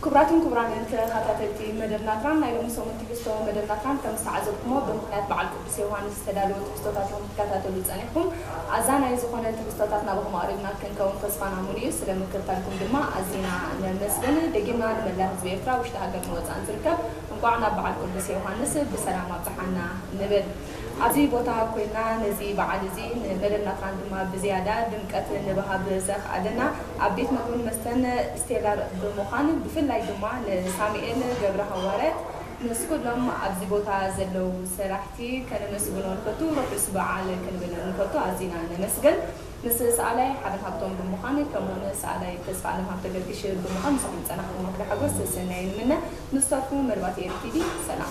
ክቡራትን ክቡራንን ተኸታተልቲ መደብ ናትራን፣ ናይ ሎሚ ሰሙን ትሕዝቶ መደብ ናትራን ከም ዝተዓዘብኩሞ ብምኽንያት በዓል ቅዱስ ዮሃንስ ዝተዳለወ ትሕዝቶታት ኢኹም ትከታተሉ ጸኒሕኩም። ኣዛናይ ዝኾነ ትሕዝቶታት ናባኹም ኣቕሪብና ክንከውን ተስፋና ሙሉእ እዩ። ስለ ምክትታልኩም ድማ ኣዚና ነመስግን። ደጊምና ንመላእ ህዝቢ ኤርትራ ውሽጢ ሃገርን ወጻእን ዝርከብ እንቋዕ ናብ በዓል ቅዱስ ዮሃንስ ብሰላም ኣብጽሓና ንብል። ኣብዚ ቦታ ኮይና ነዚ በዓል እዚ ንመደብ ናትራን ድማ ብዝያዳ ድምቀት ንብሃብ ዘኽኣለና ኣብ ቤት መግብን መስተን ስቴላር ብምዃን፣ ብፍላይ ድማ ንሳሙኤል ገብረ ሃዋርያት ምስ ኩሎም ኣብዚ ቦታ ዘለዉ ሰራሕቲ ከነመስግኖ ንፈቱ። ርሑስ በዓል ክንብል ንፈቱ። ኣዚና ነመስግን። ምስ ሰኣላይ ሓበን ሃብቶም ብምዃን፣ ከምኡውን ሰኣላይ ተስፋ ኣለም ሃብተ ገርግሽ ብምዃን ምስኹም ጸናሕኩም ወክለ ሓጎስ ሰናይ ንምነ። ምስ ተርፉ መርባት ኤሪ ቲቪ ሰላም።